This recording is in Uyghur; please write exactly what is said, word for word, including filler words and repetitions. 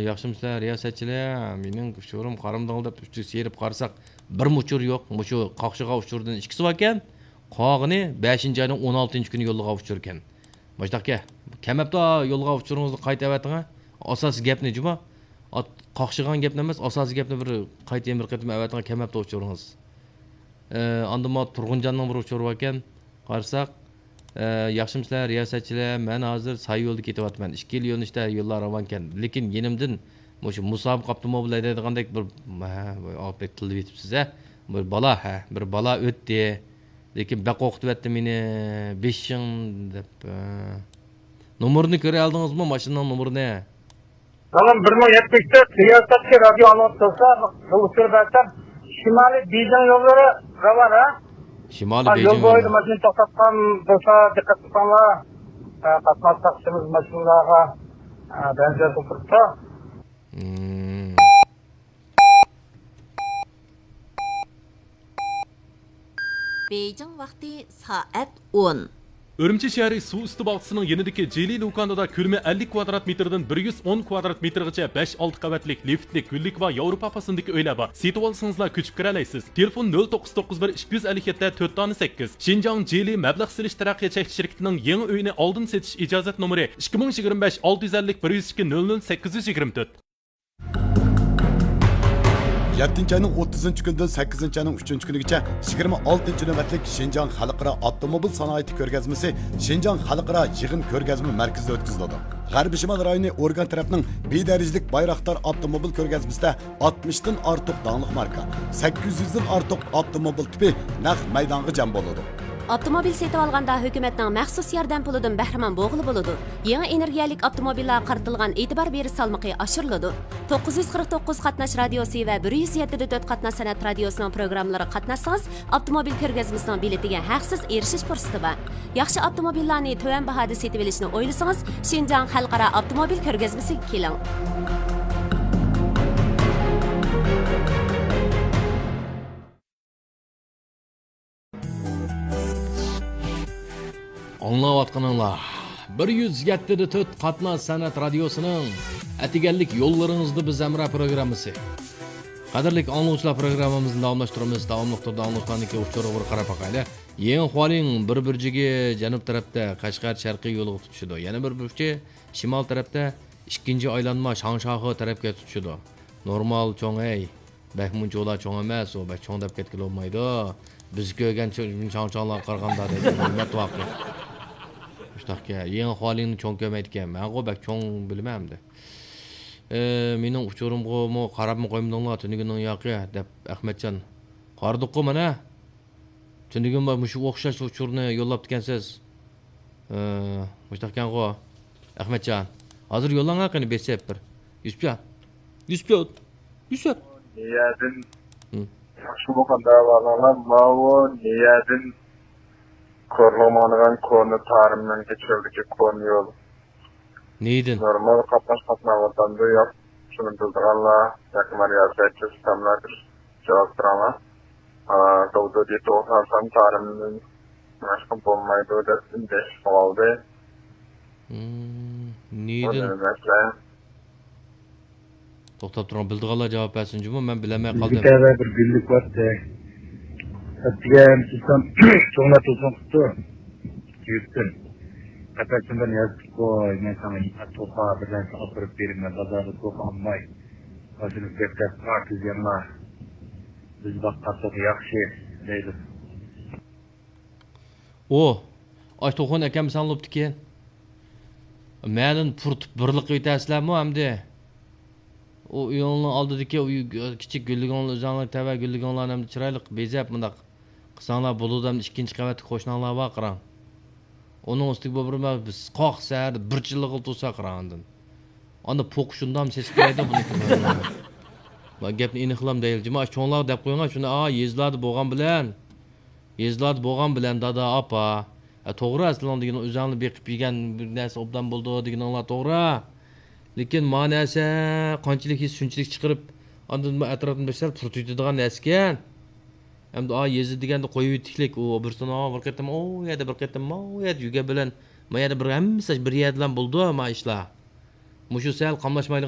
ياخشىمۇسىلەر رىياسەتچىلەر؟ مېنىڭ ئۇچۇرۇم قارىمدىڭ دەپ ئۈستىگە سېلىپ قارىساق، بىرمۇ ئۇچۇر يوق. مۇشۇ قاقشىغان ئۇچۇردىن ئىككىسى باركەن، قالغىنى بەشىنچى ئاينىڭ ئون ئالتىنچى كۈنى يوللىغان ئۇچۇركەن. مۇشۇنداقكەن، كەلمەپتۇ يوللىغان ئۇچۇرىڭىزنى قايتا ئەۋەتىڭە. ئاساسىي گەپنى جۇما، قاقشىغان گەپنى ئەمەس، ئاساسىي گەپنى بىر قايتا يەنە بىر قېتىم ئەۋەتىڭە، كەلمەپتۇ ئۇچۇرىڭىز. ئە، ئاندىن مانا تۇرغۇنجاننىڭ بىر ئۇچۇرى باركەن. قارىساق، ئە، ياخشىمۇسىلەر رىياسەتچىلەر؟ مەن ھازىر ساي يولدا كېتىۋاتىمەن. ئىككىلا يۆنىلىشتە يوللار راۋانكەن. لېكىن يېنىمدىن مۇشۇ مۇسابىقە ئاپتوموبىلى ھەيدەيدىغاندەك بىر، ھە، بەك تىللاپ ئېتىپسىز، ھە. بىر بالا، ھە، بىر بالا ئۆتتى. لېكىن بەك قورقۇتۇۋەتتى مېنى. بېشىڭ دەپ، ھە. نومۇرىنى كۆرەلدىڭىزمۇ، ماشىنىنىڭ نومۇرىنى؟ بالام، بىر مىڭ يەتمىش تۆت رىياسەتكە رادىيو ئاڭلاپ تۇرسا، بىر ئۇچۇر بەرسەم، شىمالىي بېيجىڭ يوللىرى راۋان، ھە؟ شىمالىي ھە، يول بېيجىڭ بويىدا يوللىرى. ماشىنا توختاتقان بولسا، دىققەت قىلساڭلار، ھە، قاتناش ساقچىمىز ماشىنىلارغا، ھە، بەنزىن قىلىپ تۇرۇپتۇ. مم. بېيجىڭ ۋاقتى سائەت ئون. ئۈرۈمچى شەھىرى سۇ ئۈستى باغچىسىنىڭ يېنىدىكى جىلى لۇكاندىدا كۆلىمى ئەللىك كۋادرات مېتىردىن بىر يۈز ئون كۋادرات مېتىرغىچە بەش، ئالتە قەۋەتلىك لىفتلىك، گۈللۈك ۋە ياۋروپا پاسوندىكى ئۆيلەر بار. سېتىۋالسىڭىزلا كۆچۈپ كىرەلەيسىز. تېلېفون: نۆل توققۇز توققۇز بىر، ئىككى يۈز ئەللىك يەتتە، تۆت دانە سەككىز. شىنجاڭ جىلى مەبلەغ سېلىش تەرەققىيات چەكلىك شىركىتىنىڭ يېڭى ئۆيىنى ئالدىن سېتىش ئىجازەت نومۇرى: ئىككى مىڭ يىگىرمە بەش، ئالتە يۈز ئەللىك، بىر يۈز ئىككى، نۆل نۆل، سەككىز يۈز يىگىرمە تۆت. يەتتىنچى ئاينىڭ ئوتتۇزىنچى كۈنىدىن سەككىزىنچى ئاينىڭ ئۈچىنچى كۈنىگىچە يىگىرمە ئالتىنچى نۆۋەتلىك شىنجاڭ خەلقئارا ئاپتوموبىل سانائىتى كۆرگەزمىسى شىنجاڭ خەلقئارا يىغىن كۆرگەزمە مەركىزىدە ئۆتكۈزۈلىدۇ. غەربىي شىمال رايونى ئورگان تەرەپنىڭ بىدەرىجىلىك بايراقدار ئاپتوموبىل كۆرگەزمىسىدە ئاتمىشتىن ئارتۇق داڭلىق ماركا، سەككىز يۈزدىن ئارتۇق ئاپتوموبىل تىپى نەق مەيدانغا جەم بولىدۇ. ئاپتوموبىل سېتىۋالغاندا ھۆكۈمەتنىڭ مەخسۇس ياردەم پۇلىدىن بەھرىمەن بولغىلى بولىدۇ. يېڭى ئېنېرگىيەلىك ئاپتوموبىللارغا قارىتىلغان ئېتىبار بېرىش سالمىقى ئاشۇرۇلىدۇ. توققۇز يۈز قىرىق توققۇز قاتناش رادىيوسى ۋە بىر يۈز يەتتە دە تۆت قاتناش سەنئەت رادىيوسىنىڭ پروگراممىلىرىغا قاتناشسىڭىز، ئاپتوموبىل كۆرگەزمىسىنىڭ بېلىتىگە ھەقسىز ئېرىشىش پۇرسىتى بار. ياخشى ئاپتوموبىللارنى تۆۋەن باھادا سېتىۋېلىشنى ئويلىسىڭىز، شىنجاڭ خەلقئارا ئاپتوموبىل كۆرگەزمىسىگە كېلىڭ. ئاڭلاۋاتقىنىڭلار بىر يۈز يەتتە دە تۆت قاتناش سەنئەت رادىيوسىنىڭ ئەتىگەنلىك يوللىرىڭىزدا بىز ھەمراھ پروگراممىسى. قەدىرلىك ئاڭلىغۇچىلار، پروگراممىمىزنى داۋاملاشتۇرىمىز. داۋاملىق تۈردە ئاڭلىغۇچىلارنىڭكى ئۇچۇرىغا بىر قاراپ باقايلى. يېڭى خۇالىڭ بىر بۇرجىكى جەنۇب تەرەپتە قەشقەر شەرقىي يولىغا تۇتىشىدۇ. يەنە بىر بۇرجى شىمال تەرەپتە ئىككىنچى ئايلانما شاڭشاخې تەرەپكە تۇتىشىدۇ. نورمال چوڭ، ھەي. بەكمۇ ئۇنچىۋالا چوڭ ئەمەس، ئۇ بەك چوڭ دەپ كەتكىلى بولمايدۇ. بىز كۆرگەن چوڭ-، چاڭچاڭلارغا قارىغاندا دەيدۇ، ھۆرمەت ۋاقىت. مۇشۇنداقكەن، يېڭى خۇالىڭنى چوڭ كۆرمەيدىكەن. مەنغۇ بەك چوڭ بىلىمەن ئەمدى. ئى، مېنىڭ ئۇچۇرۇمغىمۇ قاراپمۇ قويمىدىڭلار، تۈنۈگۈننىڭ ياقى، دەپ ئەخمەتجان. قارىدۇققۇ مانا. تۈنۈگۈن مۇشۇ ئوخشاش ئۇچۇرنى يوللاپتىكەنسىز. ئى، مۇشۇنداقكەنغۇ. ئەخمەتجان. ھازىر يوللاڭا قېنى، بېسىپ بىر. يۈسۈپجان. يۈسۈپجان. يۈسۈپ. نىيەدىن. ھىم. ياخشىمۇ قانداق ئەھۋالىڭلار؟ ماۋۇ نىيەدىن كورلىغا ماڭىدىغان كونا تارىمنىڭكى چۆلدىكى كونا يول. نىيەدىن. نورمال قاتناش قاتناۋاتامدۇ ياق؟ شۇنى بىلىدىغانلار ياكى مانا يازغايچە سىستېمىلارغا جاۋاب بېرىڭلار. ئا، داۋۇت دېيىپ توغرا سان تارىمدىن باشقا بولمايدۇ دەپ ئۈندەش قىلىۋالدى. ھىم، بۇ نېمە مەسىلە؟ توختاپ تۇرۇڭ، بىلىدىغانلار جاۋاب بەرسۇن جۇمۇ، مەن بىلەلمەي بىزگە قالدىم. تەۋە بىر گۈللۈك بارتى. ئەتىگەن تۇرسام، چوڭلار تېلېفون قىپتۇ. يۈرتتىن. قەپەسىمدىن يازدىق قوي، مەن ساڭا يېمەك توخا بىر نەرسە ئاپىرىپ بېرىمەن، بازاردا توخا ئالماي. ماشىنا بەك تەس، ئاكىز يەڭلار. بىز باققان توخا ياخشى، دەيدۇ. ئۇ، ئاش توخۇنى ئەكەلمىسەڭ بوپتىكەن. مەنىنى پۇرىتىپ بىرلا قىلىۋېتەرسىلەرمۇ ئەمدى؟ ئۇ ئۆيۈڭنىڭ ئالدىدىكى ئۇ كىچىك گۈللۈكۈڭلار، ئۆزۈڭلار تەۋە گۈللۈكۈڭلارنى ئەمدى چىرايلىق بېزەپ مۇنداق قىلساڭلار بولىدۇ ئەمدى. ئىككىنچى قەۋەتتىكى قوشناڭلار بار قاراڭ. ئۇنىڭ ئۈستىگە بۇ بىر مە-، بىز قاق سەھەردە بىر چىللىغىلى تۇرسا قاراڭ ئاندىن. ئاندىن پوق شۇنداق سېسىپ كېلەيدۇ بۇنىڭكى. مانا گەپنى ئېنىقلام دەيلى. جۇمۇ ئاشۇ چوڭلارغا دەپ قويۇڭ، شۇنى، ئا، يېزىلاردا بولغان بىلەن، يېزىلاردا بولغان بىلەن دادا، ئاپا. ئە، توغرا، سىلەرنىڭ دېگىنىڭ ئۆزۈڭلار بېقىپ يېگەن بىر نەرسە ئوبدان بولىدۇ دېگىنىڭلار توغرا. لېكىن ما نەرسە قانچىلىك يېسە شۇنچىلىك چىقىرىپ، ئاندىن بۇ ئەتراپنى بىر سەل پۇرىتىۋېتىدىغان نەرسىكەن. ئەمدى ئا يېزا دېگەندە قويۇۋېتىكلىك، ئۇ بىرسىنى بىر قېتىم ئۇ يەردە، بىر قېتىم ما ئۇ يەردە يۈرگەن بىلەن، ما يەردە بىر ھەممىسى بىر يەردىلا بولىدۇ ما ئىشلار. مۇشۇ سەل قاملاشمايدىغان